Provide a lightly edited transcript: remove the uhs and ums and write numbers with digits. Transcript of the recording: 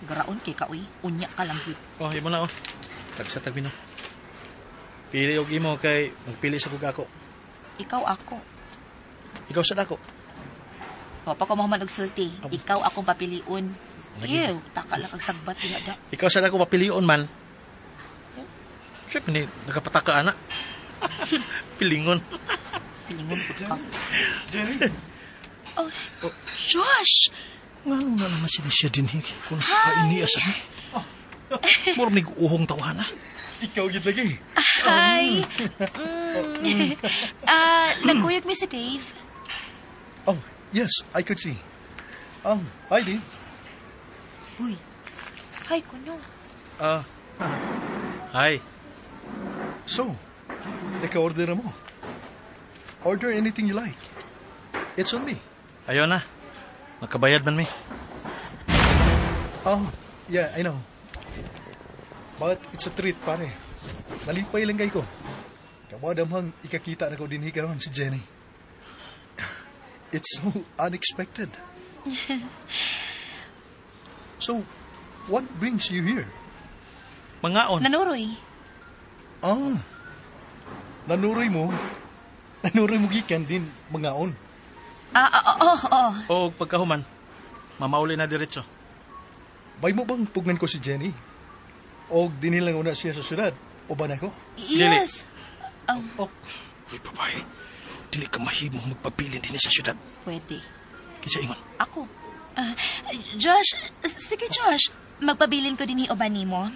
Garaon kay ka, uy. Unya ka lang gyud. Oh, imo na oh. Tagsa tag menu. Pili og imo kay magpili sa kog ako. Ikaw ako. Ikaw sa dako. Wa pa ko mahuman og sulti. Abo. Ikaw akong papilion. Lagi. Ew, taka lang kag sagbat diha da. Ikaw sa dako papilion man. Siyempre, ni nagapataka ana. Pilingon. Pilingon pud ka. Jenny? Oh, Josh! Ngano na naman sila siya din kung kainiya sa ni. Mura mig uhong tawahan ah. Ikaw gid lagi. Hi! Ah, nagkuyog mi si Dave. Oh, yes, I could see. Hi, Dave. Uy. Hi, kuno. Ah. Hi. So, naka-order na mo. Order anything you like. It's on me. Ayaw na. Nakabayad man mi. Oh, yeah, I know. But it's a treat, pare. Nalipay lang kay ko. Kawadamhang ikakita na ko dinhi karon si Jenny. It's so unexpected. So, what brings you here? Mangaon. Nanuroy. Ah, nanuroy mo? Nanuroy mo gikan din mangaon. Ah, ah, oh, oh. O pagkahuman, mamauli na diretso. Bay mo bang pugnan ko si Jenny? O dinhi lang una siya sa syudad? O ba na ko? Yes. Oh, Uy, babae. Dili ka mahimo magpabilin din sa syudad. Pwede. Kinsa ingon. Ako. Ah, Josh, sige Josh. Magpabilin ko dinhi uban nimo.